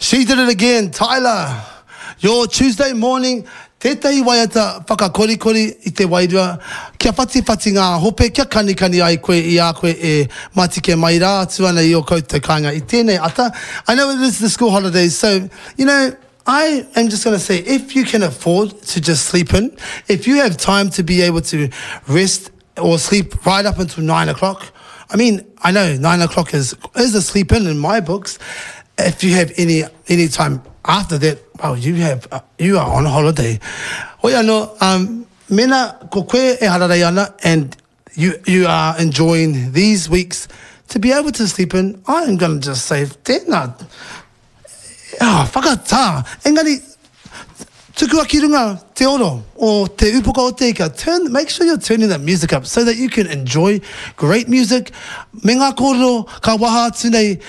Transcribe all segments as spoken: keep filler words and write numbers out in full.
She did it again, Tyla. Your Tuesday morning, tētahi waiata whakakorikori i te wairua, kia whatiwhati ngā hope, kia kanikani ai koe i a koe e matike mai rā atu ana i o koutou kāinga i tēnei ata. I know it is the school holidays, so, you know, I am just going to say, if you can afford to just sleep in, if you have time to be able to rest or sleep right up until nine o'clock, I mean, I know nine o'clock is, is a sleep in in my books. If you have any any time after that, well, you have uh, you are on holiday. Hoi anō, um, mena ko koe e hararei ana and you, you are enjoying these weeks to be able to sleep in, I am going to just say, tēnā, ah, whakatā. Engari, tukua ki runga te oro o te upoko o te ika. Turn, make sure you're turning that music up so that you can enjoy great music. Me ngā kōrero ka waha atu nei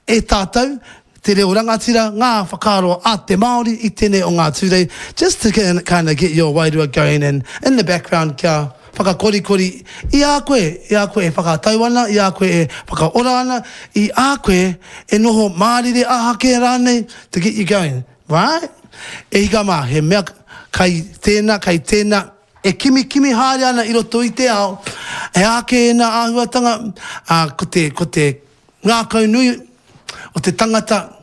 e tātou, te reo rangatira, ngā whakaaro a te Māori i tēnei o ngā tūrei, just to kind of get your wairua going and in the background kia whakakorikori i a koe, i a koe e whakatau ana, i a koe e whakaora ana, i a koe e noho mārire ahake rānei to get you going, right? E hika mā, he mea kai tēnā, kai tēnā, e kimi kimi haere ana i roto i te ao, e ake e nā āhuatanga, uh, ko te, ko te ngākau nui o te tangata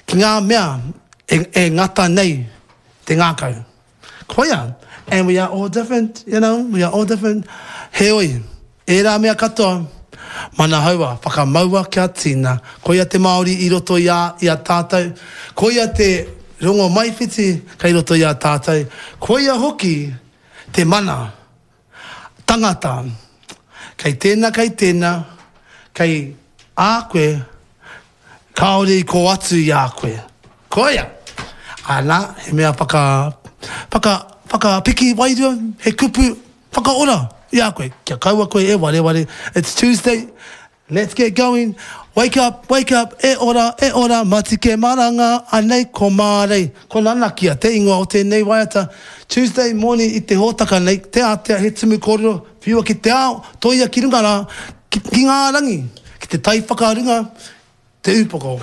ki ngā mea e, e ngata nei te ngākau. Koia, and we are all different, you know, we are all different. Heoi, e rā mea katoa, manahaua, whakamaua kia tina. Koia te Māori i roto i a, i a tātou. Koia te rongo maiwhiti kei roto i a tātou. Koia hoki te mana tangata. Kei tēnā, kei tēnā, kei a koe, kāore i ko atu i a koe. Koia! Ana, he mea whaka, whaka, whakapiki wairua, he kupu whakaora i a koe. Kia kaua koe e wareware. It's Tuesday. Let's get going. Wake up, wake up, e ora, e ora, matike maranga, anei ko mārei. Ko nanakia, te ingoa o tēnei waiata. Tuesday morning i te hōtaka nei, te ātea he tumu kōrero, whiua ki te ao, toia ki runga rā, ki, ki ngā rangi, ki te tai whakarunga, te upoko.